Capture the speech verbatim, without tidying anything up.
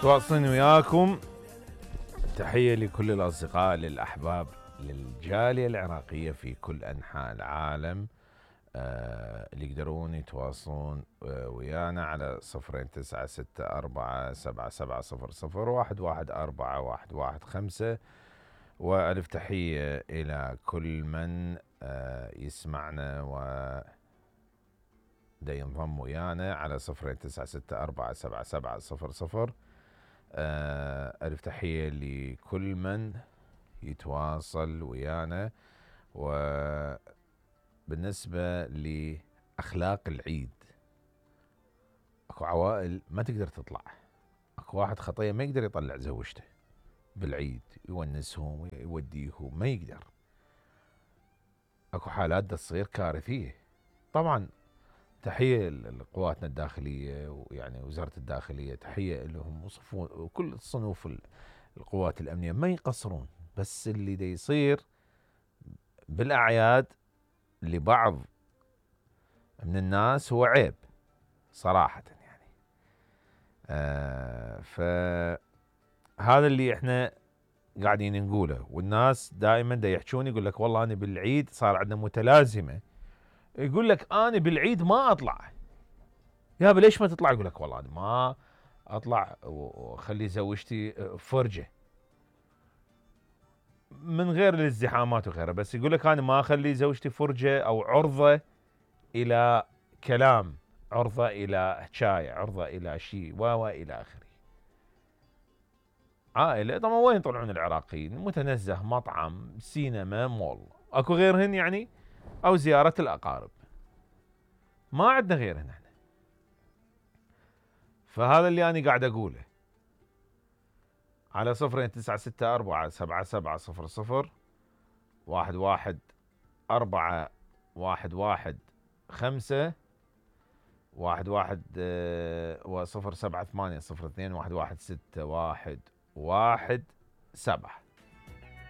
واصلين وياكم. تحية لكل الأصدقاء للأحباب للجالية العراقية في كل أنحاء العالم، آه اللي يقدرون يتواصلون آه ويانا على صفرين تسعة ستة أربعة سبعة سبعة صفر صفر واحد واحد أربعة واحد واحد خمسة. وألف تحية إلى كل من آه يسمعنا و دا ينضم ويانا على صفرين تسعة ستة أربعة سبعة سبعة صفر صفر. ألف تحية لكل من يتواصل ويانا. وبالنسبة لأخلاق العيد، أكو عوائل ما تقدر تطلع، أكو واحد خطية ما يقدر يطلع زوجته بالعيد يونسهم يوديهم، ما يقدر. أكو حالات دا تصير كارثية. طبعا تحية لقواتنا الداخلية ويعني وزارة الداخلية، تحية لهم وكل صنوف القوات الأمنية ما يقصرون. بس اللي دا يصير بالأعياد لبعض من الناس هو عيب صراحة يعني. آه فهذا اللي احنا قاعدين نقوله، والناس دائما دا يحجون يقول لك والله أنا بالعيد صار عندنا متلازمة، يقول لك أنا بالعيد ما أطلع. يا ليش ما تطلع؟ يقول لك والله أنا ما أطلع وخلي زوجتي فرجة من غير الازدحامات وغيرها، بس يقول لك أنا ما أخلي زوجتي فرجة أو عرضة إلى كلام، عرضة إلى حكاية، عرضة إلى شيء و إلى آخره. عائلة طبعا وين يطلعون العراقيين؟ متنزه، مطعم، سينما، مول، أكو غيرهن يعني؟ أو زيارة الأقارب، ما عندنا غيرهن احنا. فهذا اللي أنا قاعد أقوله على صفرين تسعة ستة أربعة سبعة سبعة صفر صفر واحد واحد أربعة واحد واحد خمسة واحد واحد وصفر سبعة ثمانية صفر اثنين واحد واحد ستة واحد واحد سبعة.